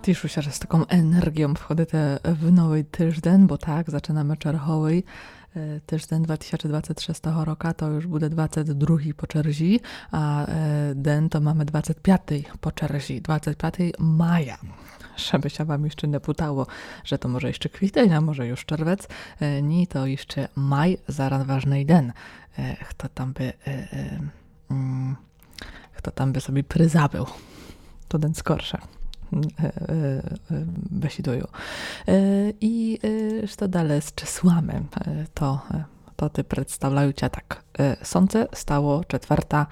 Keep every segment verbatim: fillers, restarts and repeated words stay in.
Тішу ся, же з таком енерґіом входите в новый тыжден, бо так, зачынаме черговый, е, тыжден два тисячы двадцет шестого рока, то юж буде двадцет другый по черзі, а, е, ден то маме двадцет пятый по черзі, двадцет пятый мая. Жебы ся вам іщы не путало, же то може іщы квітень, а може юж червец. Е, ні, то іщы май, зараз важный ден. Е, хто там бы, е, е, м, хто там бы собі призабыл, то ден скорше, е, е, е, бесідую. Е, і, е, што дале з чыслами? Е, то, е, то ты представляю ся так. Е, сонце стало четверта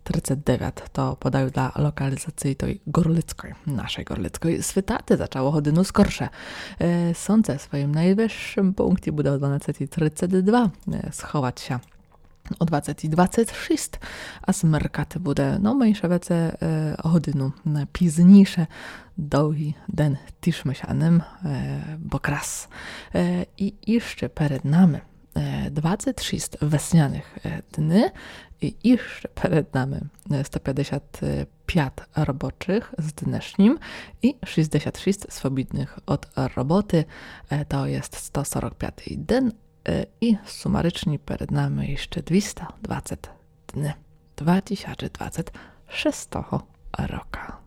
тридцет девят, то подаю для локалізації той горлицкой, нашой горлицкой. Світати зачало годину скорше. Е, сонце в своім найвышым пункті буде о дванадцетій тридцет два, е, сховат ся о двадцетій двадцет шіст, а змеркати буде, но, менше веце, е, годину, е, пізнійше. Довгый ден, тішме ся ним, е, бо крас. Е, і іщы перед нами, е, двадцет шіст весняных, е, дни, і іщы перед нами, е, сто пятдесят пят робочых з днешнім і шістдесят шіст свобідных од роботы, е, то єст сто сорок пятый ден, е, і сумарычні перед нами іщы двіста двадцет дни два тисячы двадцет шестого рока.